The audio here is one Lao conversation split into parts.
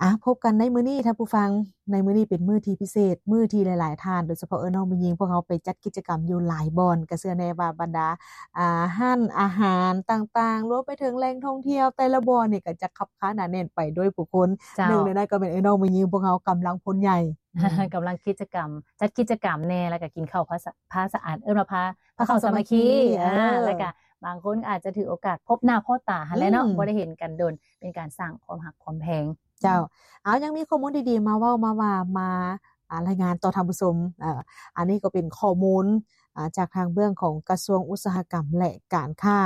ອ່ະ ພົບກັນໃນມື້ນີ້ທ່ານຜູ້ຟັງ, ໃນມື້ນີ້ເປັນມື້ທີ່ພິເສດ, ມື້ທີ່ຫຼາຍໆທ່ານ ໂດຍສະເພາະເອື້ອຍນ້ອງແມ່ຍິງ ພວກເຮົາໄປຈັດກິດຈະກຳຢູ່ຫຼາຍບ່ອນ, ກໍເຊື່ອແນ່ວ່າບັນດາ ອ່າ ຮ້ານອາຫານຕ່າງໆ ລວມໄປເຖິງແຫຼ່ງທ່ອງທ່ຽວແຕ່ລະບ່ອນນີ້ ກໍຈະຄັບຄາໜາແໜ້ນໄປດ້ວຍຜູ້ຄົນ. ເຈົ້າ. ໜຶ່ງໃນນັ້ນກໍແມ່ນເອື້ອຍນ້ອງແມ່ຍິງ ພວກເຮົາກຳລັງພົນໃຫຍ່ ອືມ ກຳລັງກິດຈະກຳ ຈັດກິດຈະກຳແດ່ ແລ້ວກໍກິນເຂົ້າພາສະ ພາສະອາດ ເອີ້ນວ່າພາ ພາເຂົ້າສາມັກຄີ ພາເຂົ້າສາມັກຄີ ອ່າ ອ່າ ແລ້ວກໍບາງຄົນອາດຈະຖືໂອກາດພົບໜ້າພໍ້ຕາຫັ້ນແຫຼະເນາະ ອືມ ບໍ່ໄດ້ເຫັນກັນດົນ ເປັນການສ້າງຄວາມຮັກຄວາມແພງ. ເຈົ້າ. ເອົາ ຍັງມີຂໍ້ມູນດີໆມາເວົ້າມາວ່າ ມາ ອ່າ ລາຍງານຕໍ່ທ່ານຜູ້ຊົມ. ເອີ ອັນນີ້ກໍເປັນຂໍ້ມູນ ອ່າ ຈາກທາງເບື້ອງຂອງກະຊວງອຸດສາຫະກຳ ແລະ ການຄ້າ.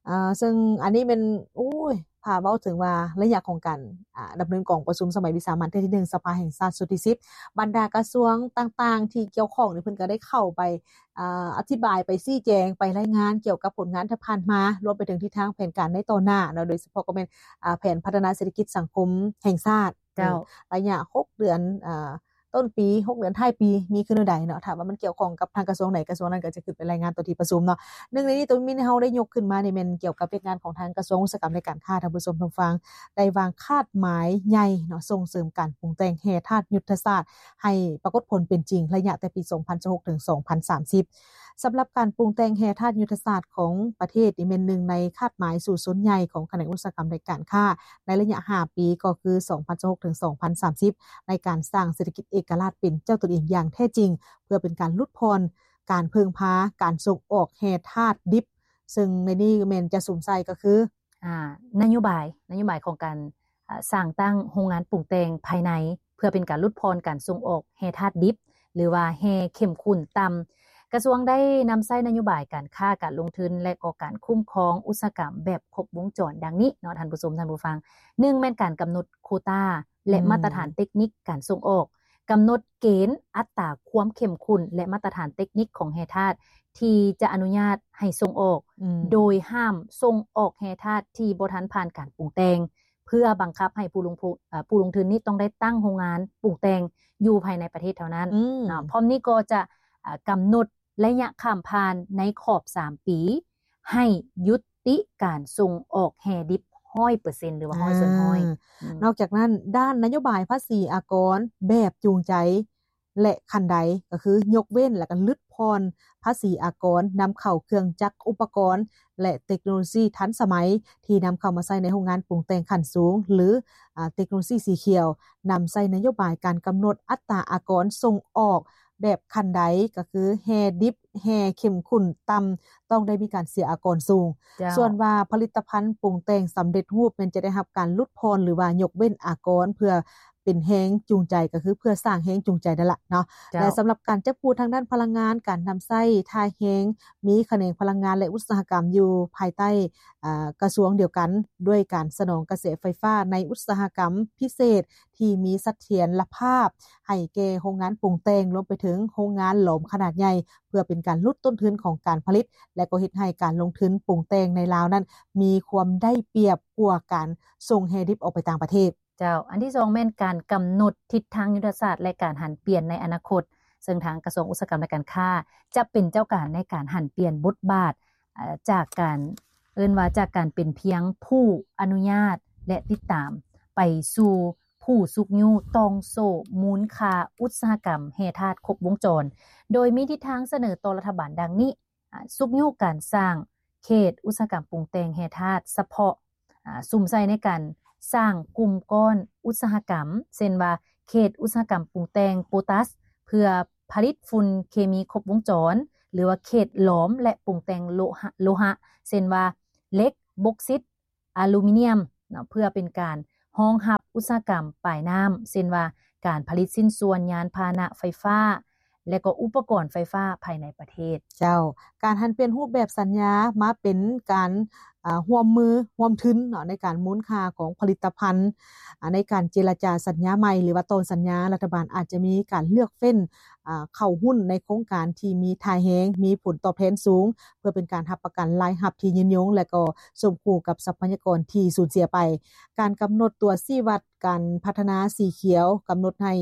ເອີ ເຊິ່ງອັນນີ້ແມ່ນ ໂອ້ຍ ຖ້າເວົ້າເຖິງວ່າໄລຍະຂອງການ ອ່າ ດຳເນີນກອງປະຊຸມສະໄໝວິສາມັນເທື່ອທີໜຶ່ງ ສະພາແຫ່ງຊາດຊຸດທີສິບ ບັນດາກະຊວງຕ່າງໆທີ່ກ່ຽວຂ້ອງນີ້ ເພິ່ນກໍໄດ້ເຂົ້າໄປ ອ່າ ອະທິບາຍ ໄປຊີ້ແຈງ ໄປລາຍງານກ່ຽວກັບຜົນງານທີ່ຜ່ານມາ ລວມໄປເຖິງທິດທາງແຜນການໃນຕໍ່ໜ້າເນາະ, ໂດຍສະເພາະກໍແມ່ນ ອ່າ ແຜນພັດທະນາເສດຖະກິດສັງຄົມແຫ່ງຊາດ. ເຈົ້າ. ເອີ ໄລຍະຫົກເດືອນ ອ່າ ຕົ້ນປີ ຫົກເດືອນທ້າຍປີ ມີຄືແນວໃດເນາະ, ຖ້າວ່າມັນກ່ຽວຂ້ອງກັບທາງກະຊວງໃດ ກະຊວງນັ້ນກໍຈະຂຶ້ນໄປລາຍງານຕໍ່ທີ່ປະຊຸມເນາະ. ໜຶ່ງໃນນີ້ ໂຕມີເຮົາໄດ້ຍົກຂຶ້ນມານີ້ ແມ່ນກ່ຽວກັບວຽກງານຂອງທາງກະຊວງອຸດສາຫະກຳ ແລະ ການຄ້າ. ທ່ານຜູ້ຊົມທ່ານຜູ້ຟັງ ໄດ້ວາງຄາດໝາຍໃຫຍ່ເນາະ ສົ່ງເສີມການປຸງແຕ່ງແຮ່ທາດຍຸດທະສາດ ໃຫ້ປາກົດຜົນເປັນຈິງ ໄລຍະແຕ່ປີສອງພັນຊາວຫົກ ເຖິງ ສອງພັນສາມສິບ. ສຳລັບການປຸງແຕ່ງແຮ່ທາດຍຸດທະສາດຂອງປະເທດນີ້ ແມ່ນໜຶ່ງໃນຄາດໝາຍສູ້ຊົນໃຫຍ່ຂອງຂະແໜງອຸດສາຫະກຳ ແລະ ການຄ້າ ໃນໄລຍະຫ້າປີ ກໍຄື ສອງພັນຊາວຫົກ ເຖິງ ສອງພັນສາມສິບ ໃນການສ້າງເສດຖະກິດເອກະລາດເປັນເຈົ້າຕົນເອງຢ່າງແທ້ຈິງ ເພື່ອເປັນການຫຼຸດຜ່ອນການເພິ່ງພາການສົ່ງອອກແຮ່ທາດດິບ, ເຊິ່ງໃນນີ້ແມ່ນຈະສຸມໃສ່ກໍຄື ອ່າ ນະໂຍບາຍ ນະໂຍບາຍຂອງການ ອ່າ ສ້າງຕັ້ງໂຮງງານປຸງແຕ່ງພາຍໃນ ເພື່ອເປັນການຫຼຸດຜ່ອນການສົ່ງອອກແຮ່ທາດດິບ ຫຼືວ່າແຮ່ເຂັ້ມຂຸ້ນຕ່ຳ. ກະຊວງໄດ້ນຳໃຊ້ນະໂຍບາຍການຄ້າ, ການລົງທຶນ ແລະ ກໍການຄຸ້ມຄອງອຸດສາຫະກຳແບບຄົບວົງຈອນດັ່ງນີ້ເນາະ ທ່ານຜູ້ຊົມ ທ່ານຜູ້ຟັງ. ໜຶ່ງ ແມ່ນການກຳນົດໂຄຕາ ແລະ ອືມ ມາດຕະຖານເຕັກນິກການສົ່ງອອກ, ກຳນົດເກນອັດຕາຄວາມເຂັ້ມຂຸ້ນ ແລະ ມາດຕະຖານເຕັກນິກຂອງແຮ່ທາດທີ່ຈະອະນຸຍາດໃຫ້ສົ່ງອອກ, ອືມ ໂດຍຫ້າມສົ່ງອອກແຮ່ທາດທີ່ບໍ່ທັນຜ່ານການປຸງແຕ່ງ ເພື່ອບັງຄັບໃຫ້ຜູ້ລົງທຶນ ເອີ ຜູ້ລົງທຶນນີ້ຕ້ອງໄດ້ຕັ້ງໂຮງງານປຸງແຕ່ງຢູ່ພາຍໃນປະເທດເທົ່ານັ້ນ ອືມ ເນາະ. ພ້ອມນີ້ກໍຈະ ເອີ ກຳນົດໄລຍະຂ້າມຜ່ານໃນຂອບສາມປີ ໃຫ້ຍຸດຕິການສົ່ງອອກແຮ່ດິບຮ້ອຍເປີເຊັນ ຫຼືວ່າຮ້ອຍສ່ວນຮ້ອຍ. ອືມ ນອກຈາກນັ້ນ ດ້ານນະໂຍບາຍພາສີອາກອນແບບຈູງໃຈ ແລະ ຂັ້ນໄດ ກໍຄືຍົກເວັ້ນ ແລະ ກໍຫຼຸດຜ່ອນພາສີອາກອນນຳເຂົ້າເຄື່ອງຈັກ ອຸປະກອນ ແລະ ເຕັກໂນໂລຊີທັນສະໄໝ ທີ່ນຳເຂົ້າມາໃຊ້ໃນໂຮງງານປຸງແຕ່ງຂັ້ນສູງ ຫຼື ອາ ເຕັກໂນໂລຊີສີຂຽວ, ນຳໃຊ້ນະໂຍບາຍການກຳນົດອັດຕາອາກອນສົ່ງອອກແບບຂັ້ນໄດ ກໍຄືແຮ່ດິບ, ແຮ່ເຂັ້ມຂຸ້ນຕ່ຳ, ຕ້ອງໄດ້ມີການເສຍອາກອນສູງ. ເຈົ້າ. ສ່ວນວ່າຜະລິດຕະພັນປຸງແຕ່ງສຳເລັດຮູບ ແມ່ນຈະໄດ້ຮັບການຫຼຸດຜ່ອນ ຫຼືວ່າຍົກເວັ້ນອາກອນ ເພື່ອ ເປັນແຮງຈູງໃຈ ກໍຄືເພື່ອສ້າງແຮງຈູງໃຈນັ້ນລະເນາະ. ເຈົ້າ. ແລະ ສຳລັບການຈັບຄູ່ທາງດ້ານພະລັງງານ, ການນຳໃຊ້ທ່າແຮງ, ມີຂະແໜງພະລັງງານ ແລະ ອຸດສາຫະກຳຢູ່ພາຍໃຕ້ ອາ ກະຊວງດຽວກັນ ດ້ວຍການສະໜອງກະແສໄຟຟ້າໃນອຸດສາຫະກຳພິເສດທີ່ມີສະຖຽນລະພາບໃຫ້ແກ່ໂຮງງານປຸງແຕ່ງ, ລວມໄປເຖິງໂຮງງານຫຼອມຂະໜາດໃຫຍ່ ເພື່ອເປັນການຫຼຸດຕົ້ນທຶນຂອງການຜະລິດ ແລະ ກໍເຮັດໃຫ້ການລົງທຶນປຸງແຕ່ງໃນລາວນັ້ນ ມີຄວາມໄດ້ປຽບກວ່າການສົ່ງແຮ່ດິບອອກໄປຕ່າງປະເທດ. ເຈົ້າ. ອັນທີສອງ ແມ່ນການກຳນົດທິດທາງຍຸດທະສາດ ແລະ ການຫັນປ່ຽນໃນອະນາຄົດ, ເຊິ່ງທາງກະຊວງອຸດສາຫະກຳ ແລະ ການຄ້າ ຈະເປັນເຈົ້າການໃນການຫັນປ່ຽນບົດບາດ ເອີ ຈາກການ ເອີ້ນວ່າຈາກການເປັນພຽງຜູ້ອະນຸຍາດ ແລະ ຕິດຕາມ ໄປສູ່ຜູ້ຊຸກຍູ້ຕ່ອງໂສ້ມູນຄ່າອຸດສາຫະກຳແຮ່ທາດຄົບວົງຈອນ, ໂດຍມີທິດທາງສະເໜີຕໍ່ລັດຖະບານດັ່ງນີ້. ອາ ຊຸກຍູ້ການສ້າງເຂດອຸດສາຫະກຳປຸງແຕ່ງແຮ່ທາດສະເພາະ ອາ ສຸມໃສ່ໃນການສ້າງກຸ່ມກ້ອນອຸດສາຫະກຳ ເຊັ່ນວ່າ ເຂດອຸດສາຫະກຳປຸງແຕ່ງໂປຕາສ ເພື່ອຜະລິດຝຸ່ນເຄມີຄົບວົງຈອນ ຫຼືວ່າເຂດຫຼອມ ແລະ ປຸງແຕ່ງໂລຫະ ໂລຫະ ເຊັ່ນວ່າ ເຫຼັກ, ບົກຊິດ, ອາລູມີນຽມເນາະ ເພື່ອເປັນການຮອງຮັບອຸດສາຫະກຳປາຍນ້ຳ ເຊັ່ນວ່າ ການຜະລິດຊິ້ນສ່ວນຍານພາຫະນະໄຟຟ້າ ແລະ ກໍອຸປະກອນໄຟຟ້າພາຍໃນປະເທດ. ເຈົ້າ. ການຫັນປ່ຽນຮູບແບບສັນຍາມາເປັນການ ອາ ຮ່ວມມືຮ່ວມທຶນເນາະ ໃນການມູນຄ່າຂອງຜະລິດຕະພັນ ອາ ໃນການເຈລະຈາສັນຍາໃໝ່ ຫຼືວ່າຕໍ່ສັນຍາ, ລັດຖະບານອາດຈະມີການເລືອກເຟັ້ນ ອາ ເຂົ້າຫຸ້ນໃນໂຄງການທີ່ມີທ່າແຮງ, ມີຜົນຕອບແທນສູງ ເພື່ອເປັນການຮັບປະກັນລາຍຮັບທີ່ຍືນຍົງ ແລະ ກໍສົມຄູ່ກັບຊັບພະຍາກອນທີ່ສູນເສຍໄປ. ການກຳນົດຕົວຊີ້ວັດການພັດທະນາສີຂຽວ ກຳນົດໃຫ້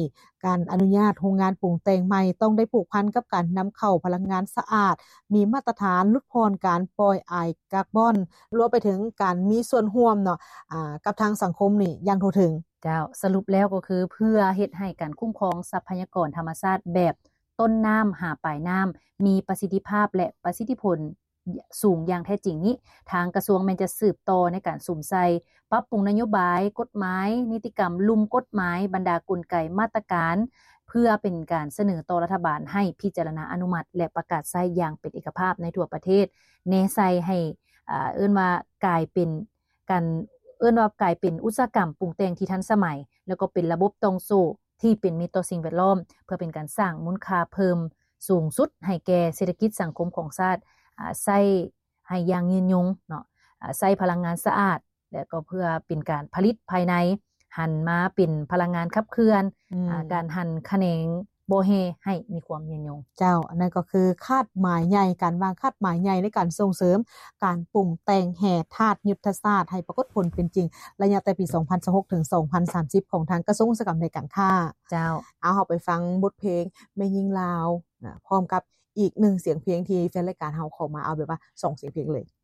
ການອະນຸຍາດໂຮງງານປຸງແຕ່ງໃໝ່ ຕ້ອງໄດ້ຜູກພັນກັບການນຳເຂົ້າພະລັງງານສະອາດ, ມີມາດຕະຖານຫຼຸດຜ່ອນການປ່ອຍອາຍກາບອນ, ລວມໄປເຖິງການມີສ່ວນຮ່ວມເນາະ ອາ ກັບທາງສັງຄົມນີ້ຢ່າງທົ່ວເຖິງ. ເຈົ້າ ສະຫຼຸບແລ້ວກໍຄືເພື່ອເຮັດໃຫ້ການຄຸ້ມຄອງຊັບພະຍາກອນທຳມະຊາດແບບຕົ້ນນ້ຳຫາປາຍນ້ຳມີປະສິດທິພາບ ແລະ ປະສິດທິຜົນສູງຢ່າງແທ້ຈິງນີ້ ທາງກະຊວງແມ່ນຈະສືບຕໍ່ໃນການສຸມໃສ່ ປັບປຸງນະໂຍບາຍ, ກົດໝາຍ, ນິຕິກຳ, ລຸ່ມກົດໝາຍ, ບັນດາກົນໄກມາດຕະການ ເພື່ອເປັນການສະເໜີຕໍ່ລັດຖະບານໃຫ້ພິຈາລະນາອະນຸມັດ ແລະ ປະກາດໃຊ້ຢ່າງເປັນເອກະພາບໃນທົ່ວປະເທດ, ແນໃສ່ໃຫ້ ອ່າ ເອີ້ນວ່າກາຍເປັນ ການ ເອີ້ນວ່າກາຍເປັນອຸດສາຫະກຳປຸງແຕ່ງທີ່ທັນສະໄໝ ແລ້ວກໍເປັນລະບົບຕ່ອງໂສ້ທີ່ເປັນມິດຕໍ່ສິ່ງແວດລ້ອມ ເພື່ອເປັນການສ້າງມູນຄ່າເພີ່ມສູງສຸດໃຫ້ແກ່ເສດຖະກິດສັງຄົມຂອງຊາດ ອາ ໃຊ້ໃຫ້ຢ່າງຍືນຍົງເນາະ ອາ ໃຊ້ພະລັງງານສະອາດ ແລະ ກໍເພື່ອເປັນການຜະລິດພາຍໃນ ຫັນມາເປັນພະລັງງານຂັບເຄື່ອນ ອາ ການຫັນຂະແໜງບໍ່ແຮ່ໃຫ້ມີຄວາມຍືນຍົງ. ເຈົ້າ ອັນນັ້ນກໍຄືຄາດໝາຍໃຫຍ່ ການວາງຄາດໝາຍໃຫຍ່ໃນການສົ່ງເສີມການປຸງແຕ່ງແຮ່ທາດຍຸດທະສາດໃຫ້ປາກົດຜົນເປັນຈິງ ໄລຍະແຕ່ປີສອງພັນຊາວຫົກ ເຖິງ ສອງພັນສາມສິບ ຂອງທາງກະຊວງອຸດສາຫະກຳ ແລະ ການຄ້າ. ເຈົ້າ ເອົາ ເຮົາໄປຟັງບົດເພງແມ່ຍິງລາວ ນະ ພ້ອມກັບອີກໜຶ່ງສຽງເພງທີ່ແຟນລາຍການເຮົາຂໍມາ ເອົາແບບວ່າສອງສຽງເພງເລີຍ.